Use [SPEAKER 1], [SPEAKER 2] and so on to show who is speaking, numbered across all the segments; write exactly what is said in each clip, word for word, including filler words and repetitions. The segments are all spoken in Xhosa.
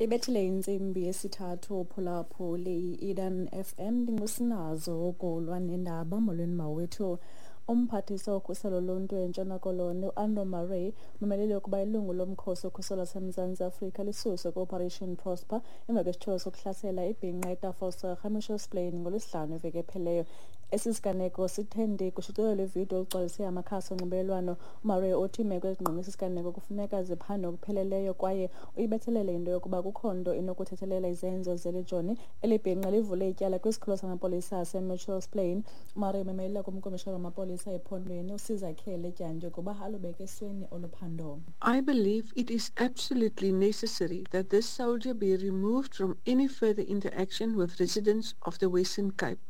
[SPEAKER 1] Ibethile intsimbi yesithathu uphulaphuli i-Eden F M, ndingusinazo ukulwa nendaba. Molweni mawethu. Umphathiswa wokhuselo loluntu eNtshona Koloni uAnro Murray umemelele ukuba ilungu lomkhosi wokhuselo laseMzantsi Afrika lisuswe kwi-Operation Prosper emva kwesityholo sokuhlasela ibhinqa eTafelsig eMitchells Plain ngoLwesihlanu iveki ephelileyo. Esi siganeko sithe ndi kushicilelo lwevidiyo olugcwalise amakhasi onxibelelwano. UMurray uthi iimeko ezingqonge esi siganeko kufuneka ziphandwe ngokupheleleyo kwaye uyibethelele into yokuba kukho nto inokuthethelela izenzo zeli joni. Eli bhinqa livule ityala kwisikhululo samapolisa aseMitchells Plain. UMurray umemelela kumkomishana wamapolisa ephondweni uSizakhele Dyantyi ukuba alubeke esweni olu phando.
[SPEAKER 2] I believe it is absolutely necessary that this soldier be removed from any further interaction with residents of the Western Cape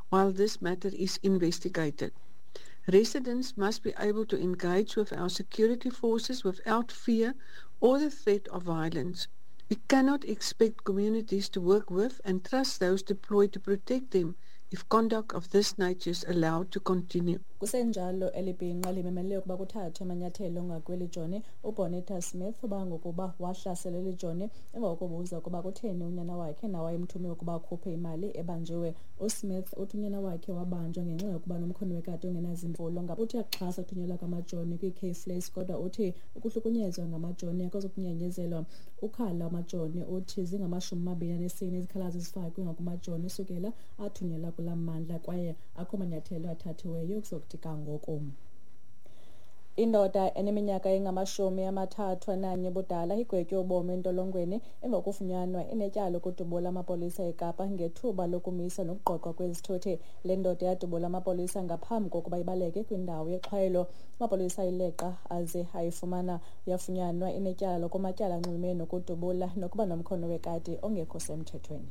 [SPEAKER 2] while this matter is investigated. Residents must be able to engage with our security forces without fear or the threat of violence. We cannot expect communities to work with and trust those deployed to protect them if conduct of this nature is allowed to continue.
[SPEAKER 1] Kusenjalo, eli bhinqa limemele ukuba kuthathwe amanyathelo ngakweli joni. UBonita Smith ubanga ukuba wahlasela eli joni emva kokubuza ukuba kutheni unyana wakhe nawayemthume ukuba akhuphe imali ebanjiwe. USmith uthi unyana wakhe wabanjwa ngenxa yokuba nomkhono wekati ongenazimvulo. Uthi uyakuxhasa ukuthunyelwa kwamajoni kwii-Cape Flats, kodwa uthi ukuhlukunyezwa ngamajoni akuzukunyanyezelwa. Ukhala amajoni uthi zingamashumi amabini anesine izikhalazo ezifakwe ngakumajoni usukela athunyelwa kulaa mmandla, kwaye akho manyathelo athathiweyo ukuzokuthi ga ngoku. Indoda eneminyaka engamashumi amathathu ananye ubudala igwetywe ubomi entolongweni emva kokufunyanwa inetyala lokudubula amapolisa eKapa ngethuba lokumisa nokuqoqwa kwezithuthi. Le ndoda yadubula amapolisa ngaphambi kokuba ibaleke kwindawo yexhwayelo. Amapolisa ayileqa aze ayifumana. Yafunyanwa inetyala kumatyala anxulumene nokudubula nokuba nomkhono wekati ongekho semthethweni.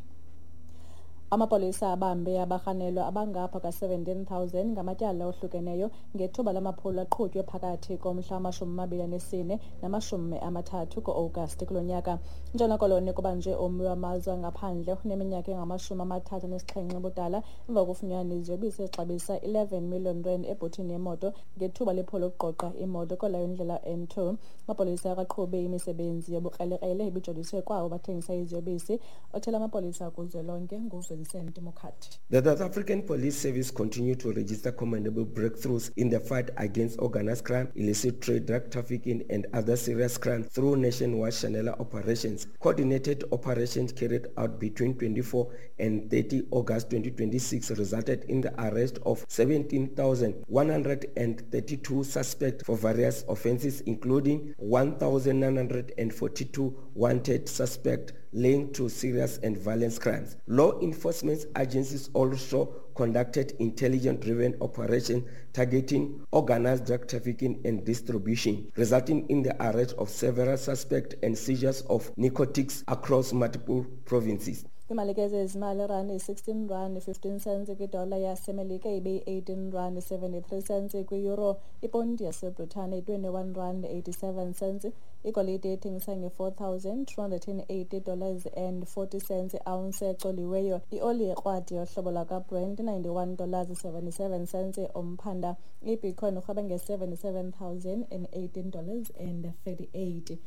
[SPEAKER 1] Amapolisa abambe abarhanelwa abangapha ka-seventeen thousand ngamatyala ohlukeneyo ngethuba lamaphulo aqhutywe phakathi komhla wamashumi amabini anesine namashumi amathathu ku-Agasti kulo nyaka. Intshona Koloni kubanjwe ummi wamazwe angaphandle oneminyaka engamashumi amathathu anesixhenxe ubudala emva kokufunyanwa iziyobisi ezixabisa eleven million rand ebhuthini yemoto ngethuba lephulo lokuqoqa imoto kolayo indlela N two. Amapolisa akaqhube imisebenzi yobukrelekrele ibijoliswe kwabo bathengisa iziyobisi. Othela amapolisa kuzwelonke nguVincent Mokhathi.
[SPEAKER 3] The South African Police Service continue to register commendable breakthroughs in the fight against organized crime, illicit trade, drug trafficking, and other serious crimes through nationwide Shanela operations. Coordinated operations carried out between twenty-four and thirty August twenty twenty-six resulted in the arrest of seventeen thousand one hundred thirty-two suspects for various offenses, including one thousand nine hundred forty-two wanted suspects linked to serious and violent crimes. Law enforcement agencies also conducted intelligence-driven operations targeting organized drug trafficking and distribution, resulting in the arrest of several suspects and seizures of narcotics across multiple provinces.
[SPEAKER 1] Kwimalike zezimali, irandi yi-sixteen rand fifteen cents kwidola yaseMelika, ibe yi-eighteen rand seventy-three cents kwi-euro, iponti yaseBritane yi-twenty-one rand eighty-seven cents. Igolide ithengisa nge-four thousand two hundred and eighty dollars and forty cents i-ounce ecoliweyo. Ioli yekrwadi yohlobo lwakwaBrent ninety-one dollars seventy-seven cents umphanda. Ibitcoin urhweba nge-seventy-seven thousand and eighteen dollars and thirty-eight.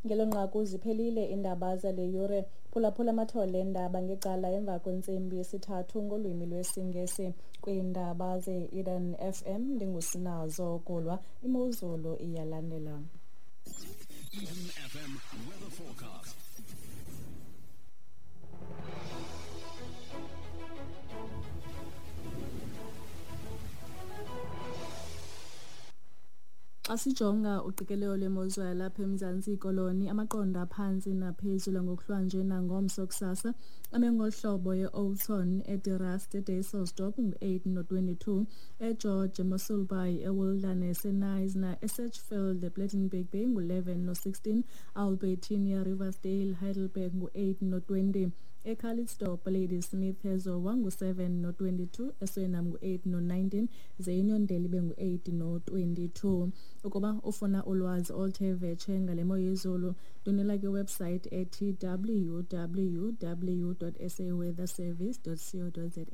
[SPEAKER 1] Ngelo nqaku ziphelile iindaba zale yure. Phulaphula amathole eendaba ngecala emva kwentsimbi yesithathu ngolwimi lwesiNgesi kwiindaba ze-Eden F M. Ndingusinazo Kulwa. Imozulu iyalandela.
[SPEAKER 4] Eden F M weather forecast.
[SPEAKER 1] Xa sijonga uqikelelo lwemozulu yalapha eMzantsi Koloni, amaqondo aphantsi naphezulu ngokuhlwanje nangomso kusasa ame ngolu hlobo: e-Oudtshoorn, eDe Rust, eDysselsdorp ngu-eight no-twenty-two, eGeorge, eMossel Bay, eWilderness, eKnysna, eSedgefield, ePlettenberg Bay ngu-eleven no-sixteen, Albertinia, Riversdale, Heidelberg ngu-eight no-twenty, eCalitzdorp, Ladysmith, eZowa ngu-seven no-twenty-two, eSuriname ngu-eight no-nineteen, ze iUniondale ibe ngu-eight no-twenty-two. Ukuba ufuna ulwazi oluthe vetshe ngale mo yezulu, ndwendwela kwiwebhusayithi ethi W W W dot S A weather service dot co dot za.